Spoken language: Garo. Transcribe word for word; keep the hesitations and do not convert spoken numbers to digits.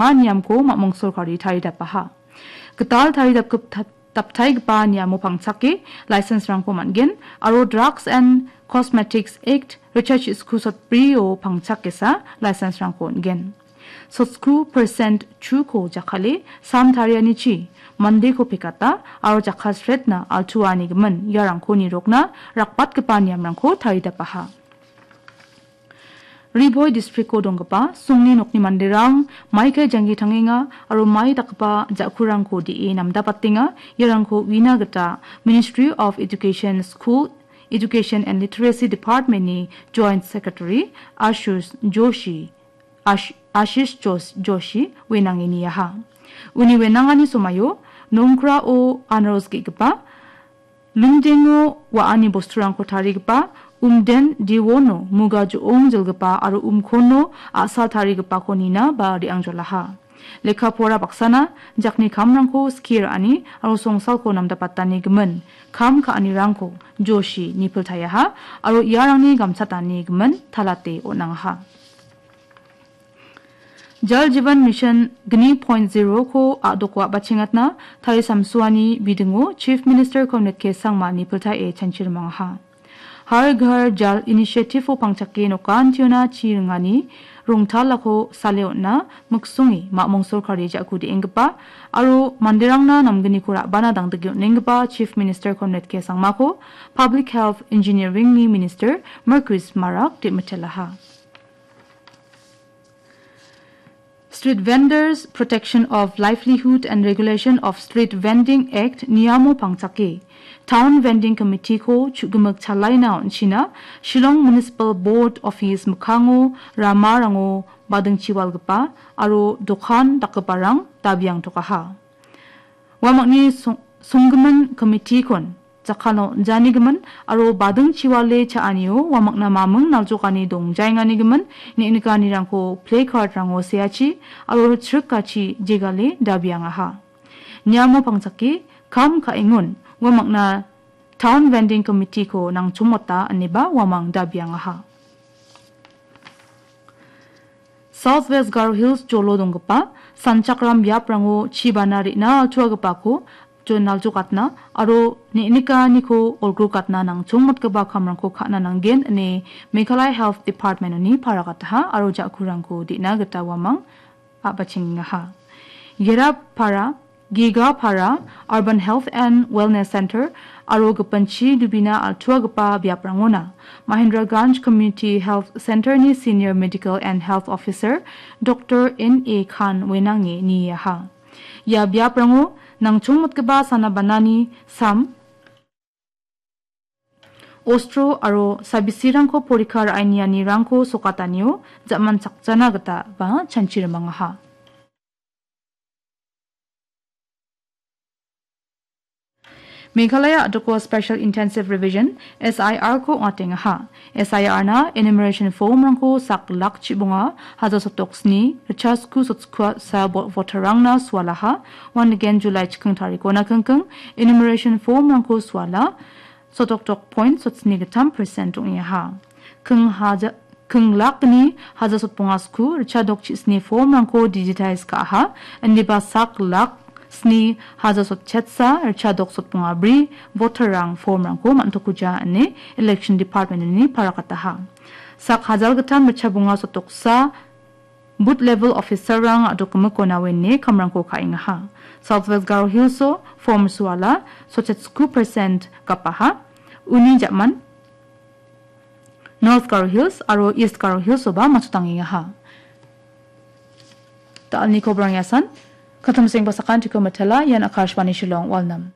niamko mamung sorkari taridapaha. Gital taridapgip-, daptaigipa niamo pangchake license-rangko man·gen aro Drugs and Cosmetics Act, richa chisku sotbrio pangchakesa license-rangko on·gen. Sotku percent chuko jakkale sam tarianichi mandeko pekata aro jakkalsretna altuanigimin iarangko nirokna rakbatgipa niamrangko taridapaha. Ri Bhoi districtko donggipa songni nokni manderang mai kai janggi tangenga aro mai dakgipa ja·kurangko de·e namdapatenga. Iarangko uina gita Ministry of Education School, Education and Literacy Department-ni Joint Secretary Ashush Joshi, Ash-, Ashish Jos-, Joshi wenange niaha. Uni wenangani somaio Nongkrao anaros ge·gipa, lungdengo wa·ani bosturangko tarigipa, umden diwono muga jo·ong jilgipa aro umkono a·sal tarigipako nina ba re·angjolaha. Lekka pora baksana jakni kamrangko skie ra·ani aro songsalko namdapatani gimin kam ka·anirangko Joshi nipiltaiaha aro iarangni gamchatani gimin talate on·angaha. Jal Jeevan Mission gni point zero-ko a·doko a·bachengatna tarisamsoani bidingo Chief Minister Conrad K Sangma nipiltae chanchirimangaha. Har Ghar Jal Initiative-o pangchake nokantiona chi ringani rongtalako sale on·na miksonge mamung sorkari ja·ku de·enggipa aro manderangna namgniko ra·bana dangdike on·enggipa Chief Minister Conrad K Sangmako Public Health Engineering-ni Minister Marcuise Marak de·mitelaha. Street Vendors Protection of Livelihood and Regulation of Street Vending Act niamo pangchake Town Vending Committee-ko chu·gimik chalaina on·china Shillong Municipal Board Office mikkango ramarango badingchiwalgipa aro dokan dakgiparang dabiangtokaha. Uamangni song-, songgimin committee-kon jakkalna on·janigimin aro badingchiwale cha·anio uamangna mamung naljokani dongjaenganigimin neng·nikanirangko placard-rango seachi aro chrikachi jegale dabiangaha. Niamo pangchake kam ka·engon uamangna Town Vending Committee-ko nangchongmota ineba uamang dabiangaha. South West Garo Hills jolo donggipa sanchakram biaprango chibana re·na altuagipako jo-, naljokatna aro neng·nikaniko olgrokatna nangchongmotgipa kamrangko ka·na nanggen ine Meghalaya Health Department-oni paragataha aro ja·kurangko de·na gita uamang a·bachengengaha. Gerapara Gigapara Urban Health and Wellness Center aro gipinchi dubina altuagipa biaprangona Mahendraganj Community Health Center-ni Senior Medical and Health Officer Doctor N A Khan wenange niaha. Ia biaprango nangchongmotgipa sana banani sam, ostro aro sabisirangko porikha ra·enianirangko sokatanio ja·manchakjana gita ba chanchirimangaha. Meghalaya a·doko Special Intensive Revision, S I R-ko ong·atengaha. S I R-na enumeration form-rangko sak lak chibonga, haja sotok sni, richa sku sotskua sa bo-, voter-rangna sualaha, uan nigen July chikking tarikona kingking, enumeration form-rangko suala, sotoktok point sotsni gittam percent ong·eaha. King haja-, king lakni haja sotbonga sku, richadok chisni form-rangko digitize ka·aha, indiba sak lak sni haja sotchetsa, richadok sotbonga bri, voter-rang form-rangko man·tokuja ine Election Department-oni parakataha. Sak hajal gittam richa bonga sotoksa, Booth level officer-rang a·dokgimikona wene kamrangko ka·engaha. South West Garo Hills-o form suala, sotchetskku percent gapaha. Uni ja·man North Garo Hills aro East Garo Hills-oba matchotangengaha. Da·alni kobrang iasan, katamsengba sakantiko mitela, ian Akashvani Shillong, Walnam.